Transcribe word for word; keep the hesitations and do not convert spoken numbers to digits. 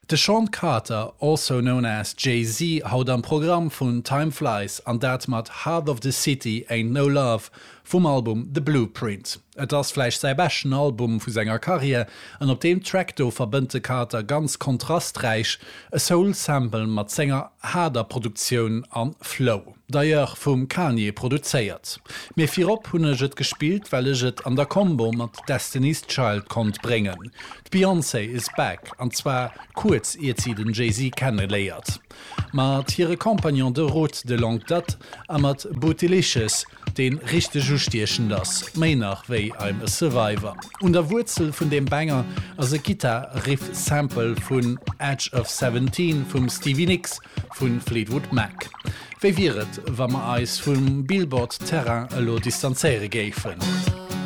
De Sean Carter, also known as Jay-Z, haut am Programm vun Time Flies an dat mat Heart of the City Ain't No Love vum Album The Blueprint. Et ass vläicht säi beschten Album vu senger Karriär an op deem Track do verbënnt de Carter ganz kontrasträich e Soul-Sample mat senger haarder Produktioun an Flow. D'ailleurs vum Kanye produzéiert. Mee virop hunn ech et gespillt, well ech et an der Kombo mat Destiny's Child konnt bréngen. D'Beyoncé is back an zwar kuerz iert si den Jay-Z kenneléiert. Mat hire Compagnon de route de longue date a mat Bootylicious, dee richteg ustiechend ass, méi nach wéi I'm a Survivor. Un der Wuerzel vun deem Banger ass e Gittar-Riff-Sample vun Edge of Seventeen vum Stevie Nicks vu Fleetwood Mac. Wéi wier et, wa mer eis vum Billboard-Terrain elo distanzéiere géifen?